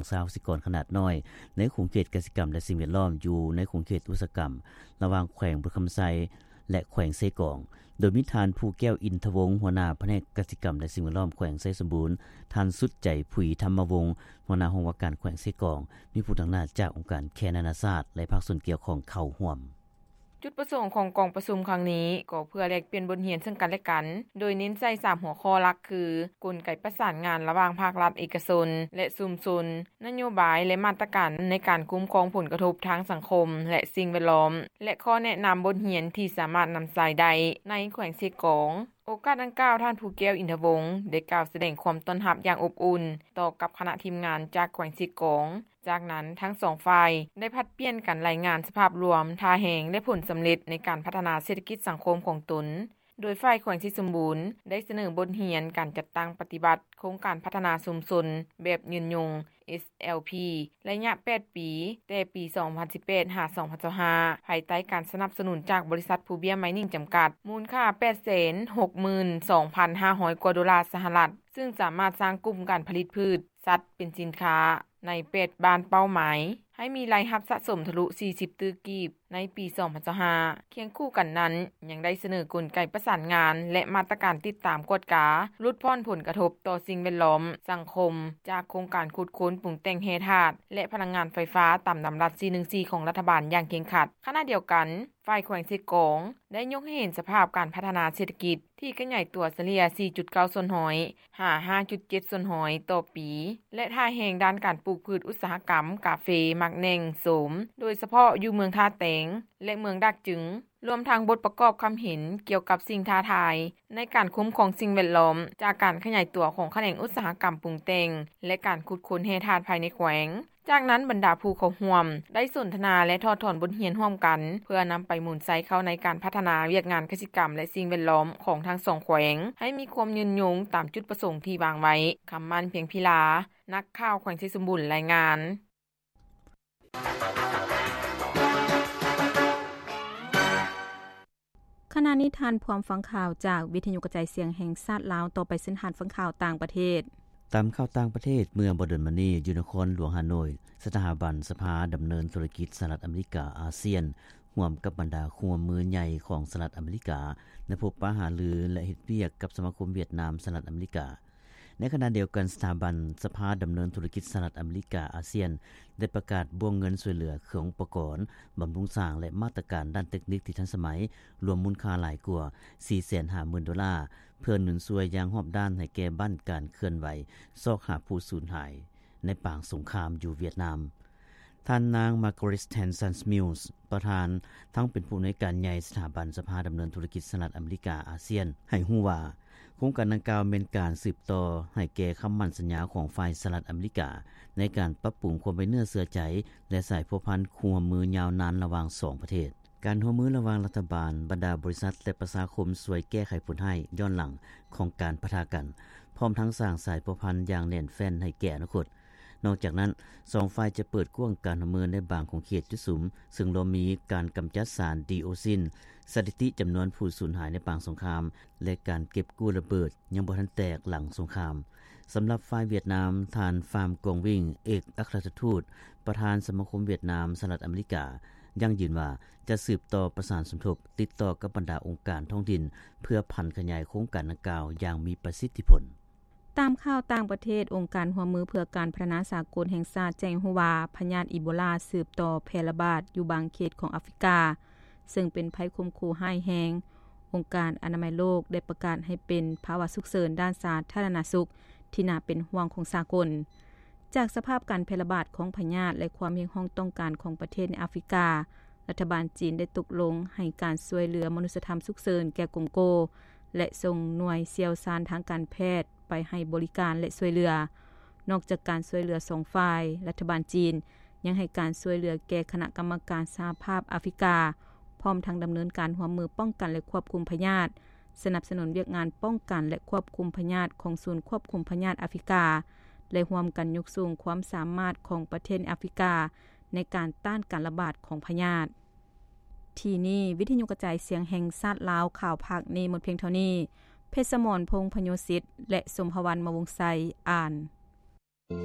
ຊາວກະສິກອນຂະໜາດນ້ອຍ ໃນຂົງເຂດກະສິກຳ ແລະ ສິ່ງແວດລ້ອມ ຢູ່ໃນຂົງເຂດອຸດສາຫະກຳ ລະຫວ່າງແຂວງບໍລິຄຳໄຊ ແລະ ແຂວງເຊກອງ, ໂດຍມີທ່ານ ພູແກ້ວ ອິນທະວົງ ຫົວໜ້າພະແນກກະສິກຳ ແລະ ສິ່ງແວດລ້ອມ ແຂວງໄຊສົມບູນ, ທ່ານ ສຸດໃຈ ຜຸຍທຳມະວົງ ຫົວໜ້າຫ້ອງວ່າການແຂວງເຊກອງ, ມີຜູ້ຕາງໜ້າຈາກອົງການແຄນານາຊາດ ແລະ ພາກສ່ວນກ່ຽວຂ້ອງເຂົ້າຮ່ວມ. ຈຸດປະສົງຂອງກອງປະຊຸມຄັ້ງນີ້ ກໍເພື່ອແລກປ່ຽນບົດຮຽນເຊິ່ງກັນແລະກັນ, ໂດຍເນັ້ນໃສ່ສາມຫົວຂໍ້ຫຼັກຄື ກົນໄກປະສານງານລະຫວ່າງພາກລັດເອກະຊົນ ແລະ ຊຸມຊົນ, ນະໂຍບາຍ ແລະ ມາດຕະການໃນການຄຸ້ມຄອງຜົນກະທົບທາງສັງຄົມ ແລະ ສິ່ງແວດລ້ອມ ແລະ ຂໍ້ແນະນຳບົດຮຽນທີ່ສາມາດນຳໃຊ້ໄດ້ໃນແຂວງເຊກອງ. ໂອກາດດັ່ງກ່າວ, ທ່ານ ພູແກ້ວ ອິນທະວົງ ໄດ້ກ່າວສະແດງຄວາມຕ້ອນຮັບຢ່າງອົບອຸ່ນຕໍ່ກັບຄະນະທີມງານຈາກແຂວງເຊກອງ. ຈາກນັ້ນ, ທັງສອງຝ່າຍໄດ້ຜັດປ່ຽນກັນລາຍງານສະພາບລວມທ່າແຮງ ແລະ ຜົນສຳເລັດໃນການພັດທະນາເສດຖະກິດສັງຄົມຂອງຕົນ, ໂດຍຝ່າຍແຂວງໄຊສົມບູນໄດ້ສະເໜີບົດຮຽນການຈັດຕັ້ງປະຕິບັດໂຄງການພັດທະນາຊຸມຊົນແບບຍືນຍົງ ເອສແອລພີ ໄລຍະແປດປີ ແຕ່ປີສອງພັນສິບແປດ ຫາ ສອງພັນຊາວຫ້າ ພາຍໃຕ້ການສະໜັບສະໜູນຈາກບໍລິສັດພູເບ້ຍໄມນິງຈຳກັດ ມູນຄ່າແປດແສນຫົກໝື່ນສອງພັນຫ້າຮ້ອຍກວ່າໂດລາສະຫະລັດ, ເຊິ່ງສາມາດສ້າງກຸ່ມການຜະລິດພືດ ສັດເປັນສິນຄ້າໃນແປດບ້ານເປົ້າໝາຍ ໃຫ້ມີລາຍຮັບສະສົມທະລຸສີ່ສິບຕື້ກີບໃນປີສອງພັນຊາວຫ້າ. ຄຽງຄູ່ກັນນັ້ນ, ຍັງໄດ້ສະເໜີກົນໄກປະສານງານ ແລະ ມາດຕະການຕິດຕາມກວດກາ ຫຼຸດຜ່ອນຜົນກະທົບຕໍ່ສິ່ງແວດລ້ອມ, ສັງຄົມ ຈາກໂຄງການຂຸດຄົ້ນ, ປຸງແຕ່ງແຮ່ທາດ ແລະ ພະລັງງານໄຟຟ້າຕາມດຳລັດສີ່ໜຶ່ງສີ່ຂອງລັດຖະບານຢ່າງເຄັ່ງຄັດ. ຂະນະດຽວກັນ, ຝ່າຍແຂວງເຊກອງໄດ້ຍົກໃຫ້ເຫັນສະພາບການພັດທະນາເສດຖະກິດທີ່ຂະຫຍາຍຕົວສະເລ່ຍສີ່ຈຸດເກົ້າສ່ວນຮ້ອຍ ຫາ ຫ້າຈຸດເຈັດສ່ວນຮ້ອຍຕໍ່ປີ ແລະ ທ່າແຮງດ້ານການປູກພືດອຸດສາຫະກຳກາເຟ ໝາກແໜ່ງ ໂສມ ໂດຍສະເພາະຢູ່ເມືອງທ່າແຕງ ແລະ ເມືອງດາກຈຶງ, ລວມທັງບົດປະກອບຄຳເຫັນກ່ຽວກັບສິ່ງທ້າທາຍໃນການຄຸ້ມຄອງສິ່ງແວດລ້ອມ ຈາກການຂະຫຍາຍຕົວຂອງຂະແໜງອຸດສາຫະກຳປຸງແຕ່ງ ແລະ ການຂຸດຄົ້ນແຮ່ທາດພາຍໃນແຂວງ. ຈາກນັ້ນ, ບັນດາຜູ້ເຂົ້າຮ່ວມໄດ້ສົນທະນາ ແລະ ຖອດຖອນບົດຮຽນຮ່ວມກັນ ເພື່ອນຳໄປໝູນໃຊ້ເຂົ້າໃນການພັດທະນາວຽກງານກະສິກຳ ແລະ ສິ່ງແວດລ້ອມຂອງທັງສອງແຂວງ ໃຫ້ມີຄວາມຍືນຍົງຕາມຈຸດປະສົງທີ່ວາງໄວ້. ຄຳໝັ້ນ ພຽງພິລາ, ນັກຂ່າວແຂວງໄຊສົມບູນ ລາຍງານ. ຂະນະນີ້ທ່ານພ້ອມຟັງຂ່າວຈາກວິທະຍຸກະຈາຍສຽງແຫ່ງຊາດລາວ. ຕໍ່ໄປເຊີນທ່ານຟັງຂ່າວຕ່າງປະເທດ. ຕາມຂ່າວຕ່າງປະເທດ, ເມື່ອບໍ່ດົນມານີ້, ຢູ່ນະຄອນຫຼວງຮ່າໂນ້ຍ, ສະຖາບັນສະພາດຳເນີນທຸລະກິດສະຫະລັດອາເມລິກາ ອາຊຽນ ຮ່ວມກັບບັນດາຄູ່ຮ່ວມມືໃຫຍ່ຂອງສະຫະລັດອາເມລິກາ ໄດ້ພົບປະຫາລື ແລະ ເຮັດວຽກກັບສະມາຄົມຫວຽດນາມສະຫະລັດອາເມລິກາ. ໃນຂະນະດຽວກັນ, ສະຖາບັນສະພາດຳເນີນທຸລະກິດສະຫະລັດອາເມລິກາ ອາຊຽນ ໄດ້ປະກາດບ້ວງເງິນຊ່ວຍເຫຼືອເຄື່ອງອຸປະກອນ, ບຳລຸງສ້າງ ແລະ ມາດຕະການດ້ານເຕັກນິກທີ່ທັນສະໄໝ, ລວມມູນຄ່າຫຼາຍກວ່າສີ່ແສນຫ້າໝື່ນໂດລາ, ເພື່ອໜູນຊ່ວຍຢ່າງຮອບດ້ານໃຫ້ແກ່ບ້ານການເຄື່ອນໄຫວຊອກຫາຜູ້ສູນຫາຍໃນປາງສົງຄາມຢູ່ຫວຽດນາມ. ທ່ານນາງ Margaret Stanton Mills ປະທານ ທັງເປັນຜູ້ອຳນວຍການໃຫຍ່ສະຖາບັນສະພາດຳເນີນທຸລະກິດສະຫະລັດອາເມລິກາ ອາຊຽນ ໃຫ້ຮູ້ວ່າ ໂຄງການດັ່ງກ່າວແມ່ນການສືບຕໍ່ໃຫ້ແກ່ຄຳໝັ້ນສັນຍາຂອງຝ່າຍສະຫະລັດອາເມລິກາ ໃນການປັບປຸງຄວາມໄວ້ເນື້ອເຊື່ອໃຈ ແລະ ສາຍພົວພັນຄູ່ຮ່ວມມືຍາວນານລະຫວ່າງສອງປະເທດ. ການຮ່ວມມືລະຫວ່າງລັດຖະບານ, ບັນດາບໍລິສັດ ແລະ ປະຊາຄົມຊ່ວຍແກ້ໄຂຜົນຮ້າຍຍ້ອນຫຼັງຂອງການປະທະກັນ, ພ້ອມທັງສ້າງສາຍພົວພັນຢ່າງແໜ້ນແຟ້ນໃຫ້ແກ່ອະນາຄົດ. ນອກຈາກນັ້ນ, ສອງຝ່າຍຈະເປີດກວ້າງການຮ່ວມມືໃນບາງຂົງເຂດຈຸດສຸມ, ເຊິ່ງລວມມີການກຳຈັດສານດີໂອຊິນ, ສະຖິຕິຈຳນວນຜູ້ສູນຫາຍໃນປາງສົງຄາມ ແລະ ການເກັບກູ້ລະເບີດຍັງບໍ່ທັນແຕກຫຼັງສົງຄາມ. ສຳລັບຝ່າຍຫວຽດນາມ, ທ່ານ ຟາມ ກອງວິງ ເອກອັກຄະລັດຖະທູດ ປະທານສະມາຄົມຫວຽດນາມສະຫະລັດອາເມລິກາ ຢັ້ງຢືນວ່າ ຈະສືບຕໍ່ປະສານສົມທົບ, ຕິດຕໍ່ກັບບັນດາອົງການທ້ອງຖິ່ນ ເພື່ອຜັນຂະຫຍາຍໂຄງການດັ່ງກ່າວຢ່າງມີປະສິດທິຜົນ. ຕາມຂ່າວຕ່າງປະເທດ, ອົງການຮ່ວມມືເພື່ອການພັດທະນາສາກົນແຫ່ງຊາດແຈ້ງໃຫ້ຮູ້ວ່າ ພະຍາດອີໂບລາສືບຕໍ່ແຜ່ລະບາດຢູ່ບາງເຂດຂອງອາຟຣິກາ, ເຊິ່ງເປັນໄພຂົ່ມຂູ່ຮ້າຍແຮງ. ອົງການອະນາໄມໂລກໄດ້ປະກາດໃຫ້ເປັນພາວະສຸກເສີນດ້ານສາທາລະນະສຸກທີ່ໜ້າເປັນຫ່ວງຂອງສາກົນ. ຈາກສະພາບການແຜ່ລະບາດຂອງພະຍາດ ແລະ ຄວາມຮຽກຮ້ອງຕ້ອງການຂອງປະເທດໃນອາຟຣິກາ, ລັດຖະບານຈີນໄດ້ຕົກລົງໃຫ້ການຊ່ວຍເຫຼືອມະນຸດສະທຳສຸກເສີນແກ່ກົງໂກ ແລະ ສົ່ງໜ່ວຍຊ່ຽວຊານທາງການແພດໄປໃຫ້ບໍລິການ ແລະ ຊ່ວຍເຫຼືອ. ນອກຈາກການຊ່ວຍເຫຼືອສອງຝ່າຍ, ລັດຖະບານຈີນຍັງໃຫ້ການຊ່ວຍເຫຼືອແກ່ຄະນະກຳມະການສະຫະພາບອາຟຣິກາ, ພ້ອມທັງດຳເນີນການຮ່ວມມືປ້ອງກັນ ແລະ ຄວບຄຸມພະຍາດ, ສະໜັບສະໜູນວຽກງານປ້ອງກັນ ແລະ ຄວບຄຸມພະຍາດຂອງສູນຄວບຄຸມພະຍາດອາຟຣິກາ ແລະ ຮ່ວມກັນຍົກສູງຄວາມສາມາດຂອງປະເທດໃນອາຟຣິກາ ໃນການຕ້ານການລະບາດຂອງພະຍາດ. ທີ່ນີ້ ວິທະຍຸກະຈາຍສຽງແຫ່ງຊາດລາວ, ຂ່າວພາກນີ້ໝົດພຽງເທົ່ານີ້. ເພັດສະໝອນ ພົງພະໂຍສິດ ແລະ ສົມພະວັນ ມະວົງໄຊ ອ່ານ.